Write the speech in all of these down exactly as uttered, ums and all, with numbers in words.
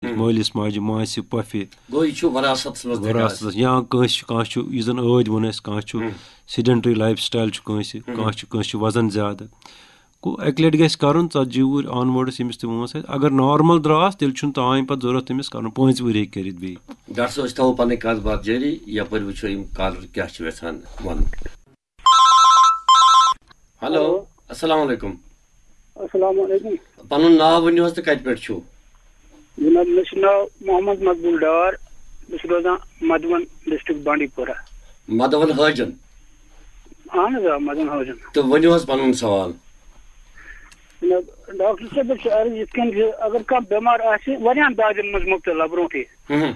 مٲلِس ماجہِ، ماسہِ، پۄپھِ، گوٚو یہِ چھُ وراثتس منٛز تہِ وراثتس، یا کٲنٛسہِ چھُ، کانٛہہ چھُ، یُس زن ٲدۍ ووٚن اَسہِ، کانٛہہ چھُ sedentary lifestyle چھُ کٲنٛسہِ، کانٛہہ چھُ، کٲنٛسہِ چھُ وزن زیادٕ۔ گوٚو اَکہِ لٹہِ گژھِ کرُن، ژتجی وُہٕرۍ onwards ییٚمِس تہِ وٲنٛس آسہِ۔ اگر normal درٛاس، تیٚلہِ چھُنہٕ تام پتہٕ ضروٗرت تٔمِس کرُن، پانٛژِ وُہٕرۍ ہیٚکہِ کٔرِتھ بیٚیہِ۔ ڈاکٹر صٲب، أسۍ تھاوو پنٕنۍ کتھ باتھ جٲری، یپٲرۍ وٕچھو یِم کالر کیٛاہ چھِ یژھان ونُن۔ Hello, hello. السلام علیکم۔ السلام علیکم۔ پنُن ناو ؤنِو حظ تہٕ کتہِ پٮ۪ٹھ چھِو؟ جناب، مےٚ چھُ ناو محمد مقبول ڈار، بہٕ چھُس روزان مدوَن، ڈسٹرکٹ بانڈی پورہ۔ مدوَن حٲجن۔ اہن حظ، آ، مدوَن حٲجن۔ تہٕ ؤنِو حظ پنُن سوال۔ جناب، ڈاکٹر صٲب، مےٚ چھِ عرض یِتھ کٔنۍ زِ اگر کانٛہہ بٮ۪مار آسہِ، واریاہن دادٮ۪ن منٛز مُبتلا برونٛٹھٕے۔ ہُم۔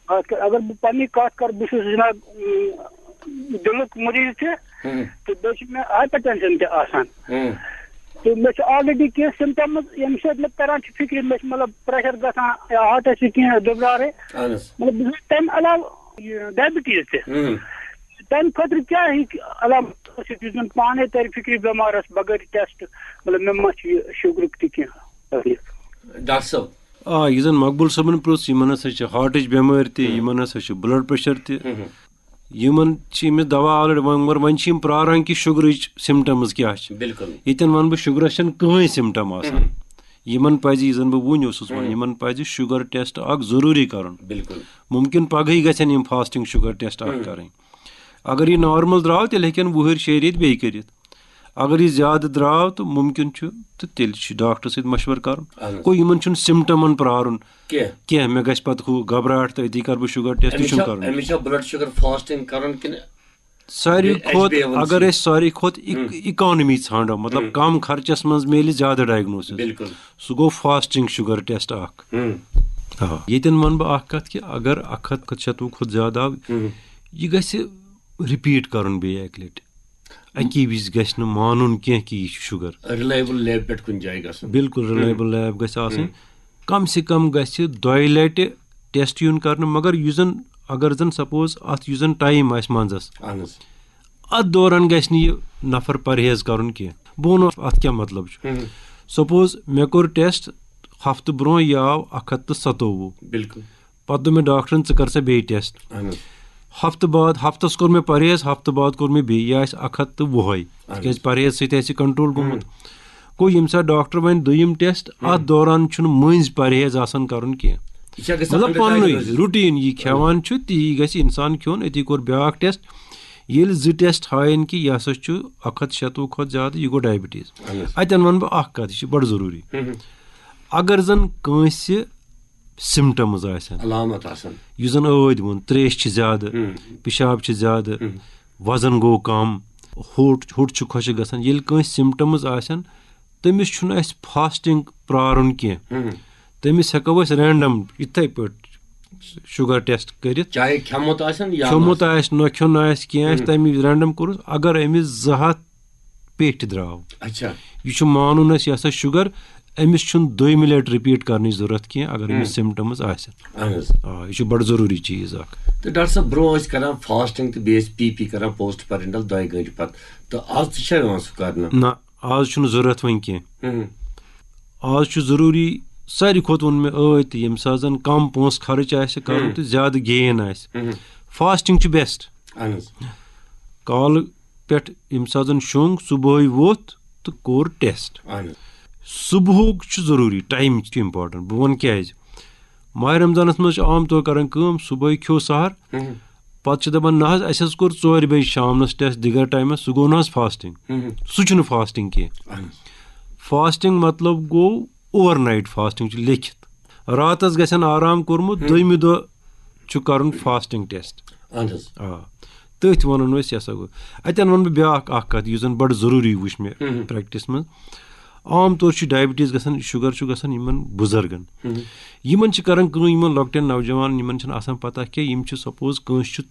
خاص کر اگر بہٕ پننی کتھ کرٕ، بہٕ چھُس جناب، اۭں، دِلُک مریض تہِ، ہُم۔ تہٕ بیٚیہِ چھُ مےٚ ہایپر ٹینشن تہِ آسان۔ ہُم۔ تہٕ مےٚ چھِ already کینٛہہ symptoms، ییٚمہِ سۭتۍ مےٚ تران چھِ فِکرِ، مےٚ چھِ مطلب pressure گژھان یا heartس چھِ کینٛہہ دُبرارٕ۔ اہن حظ۔ مطلب بہٕ چھُس تمہِ علاوٕ یہِ diabetes تہِ۔ ہُم۔ تمہِ خٲطرٕ کیٛاہ ہیٚکہِ علامت ٲسِتھ یُس زن پانے ترِ فِکرِ بٮ۪مارس بغٲر test، مطلب مےٚ ما چھُ یہِ شُگرُک تہِ کینٛہہ تکلیف؟ ڈاکٹر صٲب۔ آ، یہِ زن مقبول صٲبن پرُژھ، یِمن ہسا چھِ heartٕچ بٮ۪مٲرۍ تہِ، ہُم۔ یِمن ہسا چھُ blood pressure تہِ۔ ہُم۔ یِمن چھِ أمِس دوا already، وۄنۍ، مگر وۄنۍ چھِ یِم پراران کہِ شُگرٕچ symptoms کیٛاہ چھِ۔ بِلکُل۔ ییٚتٮ۪ن ونہٕ بہٕ، شُگرس چھنہٕ کٕہٕنۍ symptom آسان۔ ہُم۔ یِمن پزِ، یہِ زن بہٕ وُنۍ اوسُس ونان، ہُم۔ یِمن پزِ شُگر test اکھ ضروٗری کرُن۔ بِلکُل۔ مُمکِن پگہٕے گژھن یِم fasting شُگر test اکھ ہُم۔ کرٕنۍ۔ اگر یہِ normal درٛاو، تیٚلہِ ہیٚکن وُہٕرۍ شیٚیہِ ریٚتۍ بیٚیہِ کٔرِتھ۔ اگر یہِ زیادٕ درٛاو تہٕ مُمکِن چھُ، تہٕ تیٚلہِ چھُ ڈاکٹرس سۭتۍ مشورٕ کرُن۔ اہن حظ۔ گوٚو یِمن چھُنہٕ symptomن پرارُن۔ کینٛہہ۔ کینٛہہ، مےٚ گژھِ پتہٕ ہُہ گھبراہٹ تہٕ أتی کرٕ بہٕ شُگر test، أمِس چھُنہٕ چھا، کرُن۔ أمِس چھا blood sugar fasting کرُن کِنہٕ ساروی بیٚیہِ کھۄتہٕ، H B A one C؟ اگر أسۍ ساروی کھۄتہٕ اِک-، ہُم۔ Economy ژھانڈو، مطلب، ہُم۔ کم خرچس منٛز میلہِ زیادٕ diagnosis، بِلکُل۔ سُہ گوٚو fasting شُگر test اکھ۔ ہُم۔ آ، ییٚتٮ۪ن ونہٕ بہٕ اکھ کتھ کہِ اگر اکھ ہتھ شتوُہ کھۄتہٕ زیادٕ آو، ہُم۔ یہِ گژھِ repeat کرُن بیٚیہِ اکہِ لٹہِ۔ اکی وِزِ گژھِ نہٕ مانُن کینٛہہ کہِ یہِ چھُ شُگر۔ Reliable lab پٮ۪ٹھ کُنہِ جایہِ گژھُن۔ بِلکُل، ہُم۔ Reliable lab گژھِ آسٕنۍ۔ ہُم۔ کم سے کم گژھِ دۄیہِ لٹہِ test یُن کرنہٕ، مگر یُس زن، اگر زن suppose اتھ یُس زن time آسہِ منٛزس، اہن حظ۔ اتھ دوران گژھِ نہٕ یہِ نفر پرہیز کرُن کینٛہہ۔ بہٕ ونہٕ اتھ کیٛاہ مطلب چھُ۔ ہُم۔ Suppose مےٚ کوٚر test ہفتہٕ برونٛہہ، یہِ آو اکھ ہتھ تہٕ ستووُہ۔ بِلکُل۔ پتہٕ دوٚپ مےٚ ڈاکٹرن، "ژٕ کر سا بیٚیہِ test۔" اہن حظ۔ ہفتہٕ بعد، ہفتس کوٚر مےٚ پرہیز، ہفتہٕ بعد کوٚر مےٚ بیٚیہِ، یہِ آسہِ اکھ ہتھ تہٕ وُہے۔ اہن حظ۔ تِکیازِ پرہیز سۭتۍ آسہِ یہِ control گوٚمُت۔ ہُم۔ گوٚو، ییٚمہِ ساتہٕ ڈاکٹر وَنہِ دوٚیِم test، ہُم۔ اتھ دوران چھُنہٕ مٔنٛزۍ پرہیز آسان کرُن کینٛہہ۔ یہِ چھا گژھان مطلب، under پننُے diagnosis؟ Routine یہِ کھٮ۪وان چھُ، تی گژھِ انسان کھیوٚن۔ أتی کوٚر بیٛاکھ test۔ ییٚلہِ زٕ test ہاین کہِ یہِ ہسا چھُ اکھ ہتھ شتوُہ کھۄتہٕ زیادٕ، یہِ گوٚو diabetes۔ اہن حظ۔ اتٮ۪ن ونہٕ بہٕ اکھ کتھ، یہِ چھِ بڑٕ ضروٗری۔ ہُم۔ اگر زن کٲنٛسہِ symptoms آسن۔ علامت آسن۔ یُس زن ٲدۍ ووٚن، تریش چھِ زیادٕ، ہم۔ پِشاب چھِ زیادٕ، ہم۔ وزن گوٚو کم، ہوٚٹ، ہوٚٹ چھُ خۄشک گژھان۔ ییٚلہِ کٲنٛسہِ symptoms آسن، تٔمِس چھُنہٕ اَسہِ fasting پرارُن کینٛہہ۔ ہم۔ تٔمِس ہٮ۪کو أسۍ random یِتھے پٲٹھۍ sugar test کٔرِتھ۔ چاہے کھٮ۪مُت آسن یا کھیوٚمُت نہ آسہِ، نہ کھیوٚن آسہِ، کینٛہہ آسہِ، ہم۔ تَمہِ وِزِ random کوٚرُس۔ اگر أمِس زٕ ہتھ پیٹھۍ درٛاو۔ اچھا۔ یہِ چھُ مانُن اَسہِ، یہِ ہسا شُگر، أمِس چھُنہٕ دوٚیمہِ لٹہِ repeat کرنٕچ ضروٗرت کینٛہہ، اگر أمِس ہُم۔ Symptoms آسن۔ اہن حظ۔ آ، یہِ چھُ بڑٕ ضروٗری چیٖز اکھ۔ تہٕ ڈاکٹر صٲب، برونٛہہ ٲسۍ کران fasting تہٕ بیٚیہِ ٲسۍ P P کران post parental دۄیہِ گٲنٛٹہِ پتہٕ، تہٕ آز تہِ چھا یِوان سُہ کرنہٕ؟ نہ، آز چھُنہٕ ضروٗرت وۄنۍ کینٛہہ۔ ہُم۔ آز چھُ ضروٗری، ساروی کھۄتہٕ ووٚن مےٚ ٲدۍ تہِ، ییٚمہِ ساتہٕ زن کم پونٛسہٕ خرٕچ آسہِ کرُن ہُم۔ تہٕ زیادٕ gain آسہِ، ہُم۔ Fasting چھُ best۔ اہن حظ۔ کالہٕ پٮ۪ٹھ ییٚمہِ ساتہٕ زَن شۄنٛگ، صُبحٲے ووٚتھ تہٕ کوٚر test۔ اہن حظ۔ صُبحُک چھُ ضروٗری، time چھُ important۔ بہٕ وَنہٕ کیٛازِ۔ ماہِ رمضانَس منٛز چھِ عام طور کران کٲم، صُبحٲے کھیوٚو سحر، ہُم۔ پَتہٕ چھِ دَپان، "نہ حظ، اَسہِ حظ کوٚر ژورِ بجہِ شامنَس test دِگر ٹایمَس، سُہ گوٚو نہ حظ fasting؟" ہُم۔ سُہ چھُنہٕ fasting کینٛہہ۔ اہن حظ۔ Fasting مطلب گوٚو overnight fasting چھُ لیکھِتھ۔ راتَس گژھن آرام کوٚرمُت، ہُم۔ دوٚیمہِ دۄہ چھُ کرُن fasting test۔ اہن حظ۔ آ۔ تٔتھۍ وَنان ٲسۍ، یہِ ہسا گوٚو۔ اَتٮ۪ن وَنہٕ بہٕ بیٛاکھ اَکھ کَتھ، یُس زَن بَڑٕ ضروٗری وٕچھ مےٚ ہُم۔ Practice منٛز۔ عام طور چھُ diabetes گژھان، sugar چھُ گژھان یِمَن بُزرگَن۔ ہُم۔ یِمَن چھِ کران کٲم، یِمَن لۄکٹٮ۪ن نوجوانَن، یِمَن چھِنہٕ آسان پَتہ کینٛہہ، یِم چھِ suppose کٲنٛسہِ چھُ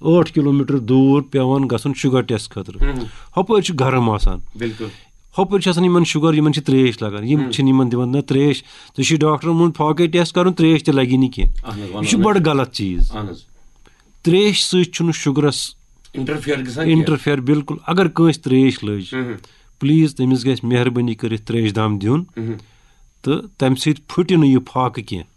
ٲٹھ کِلوٗ میٖٹر دوٗر پٮ۪وان گژھُن sugar test خٲطرٕ۔ ہُم۔ ہُپٲرۍ چھُ گرم آسان۔ بِلکُل۔ ہُپٲرۍ چھِ آسان یِمَن sugar، یِمَن چھِ ترٛیش لَگان، یِم ہُم۔ چھِنہٕ یِمَن دِوان نہ ترٛیش۔ ژےٚ چھُے ڈاکٹرَن ووٚنمُت فاقے test کَرُن، ترٛیش تہِ لَگی نہٕ کینٛہہ۔ اہن حظ، وَنو یہِ چھُ نہٕ۔ بَڑٕ غلط چیٖز۔ اہن حظ۔ ترٛیش سۭتۍ چھُنہٕ شُگرَس interfere گژھان کینٛہہ۔ Interfere بِلکُل۔ اگر کٲنٛسہِ ترٛیش لٔج، ہُم۔ Please تٔمِس گژھِ مہربٲنی کٔرِتھ ترٛیش دام دیُن۔ ہُم۔ تہٕ تَمہِ سۭتۍ پھُٹہِ نہٕ یہِ فاقہٕ کینٛہہ۔